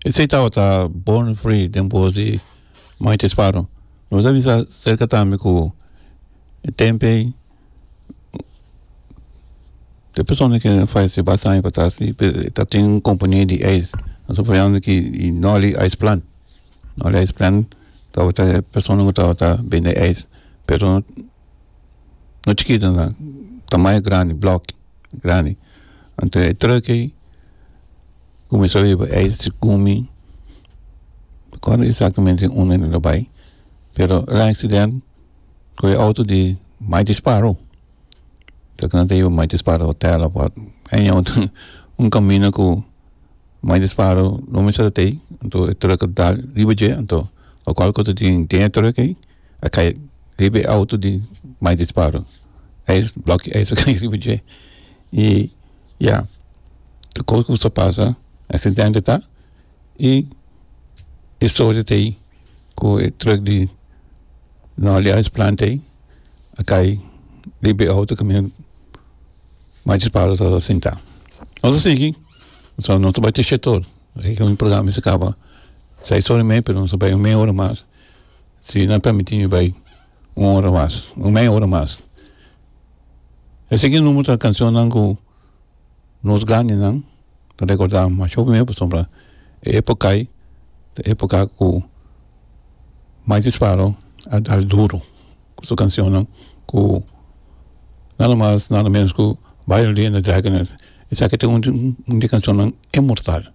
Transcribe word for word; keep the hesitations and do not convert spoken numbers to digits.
Esei tabata Born Free den bos di Mighty Sparrow. Nos a bisa serka tambe ku e tempu ei e persona ku a fayesé basta aña patras ta tin un kompania di ijs. Nos ta papiando aki di Nolly Ice Plant. Nolly Ice Plant tabata e persona ku tabata bende ijs, pero no chikito nan, tamaño grandi, blòk grandi. Anto e trùk ei kuminsá hiba ijs gumi, no kòrda eksaktamente unda el a bai, pero el a aksident ku e outo di Mighty Sparrow. Ta ku nan ta hiba Mighty Sparrow hotel of wat, un kaminda ku Mighty Sparrow no mester ta tei, anto e trùk a dal riba dje, anto lokual ku ta tin den e trùk ei a kai riba e outo di Mighty Sparrow. Ijs, blòki ijs a kai riba dje i ya, tur kos ku sa pasa aksidente ta i e storia ta ei ku e trùk di Nolly Ice Plant ei a kai riba e outo kaminda Mighty Sparrow tabata sintá. Nos a sigui, pasobra nos ta bai te shete ora, e programa mester kaba seis ora i mei pero nos ta bai un meia ora mas, si nan permití mi bai un ora mas, un meia ora mas. E siguiente number ta cancionnan ku nos grandinan ta rekordá masha hopi mihó pasobra e époka ei ta époka ku Mighty Sparrow a dal duro ku su cancionnan ku nada mas nada menos ku Byron Lee and the Dragonaires. Esaki ta un un di e cancionnan inmortal.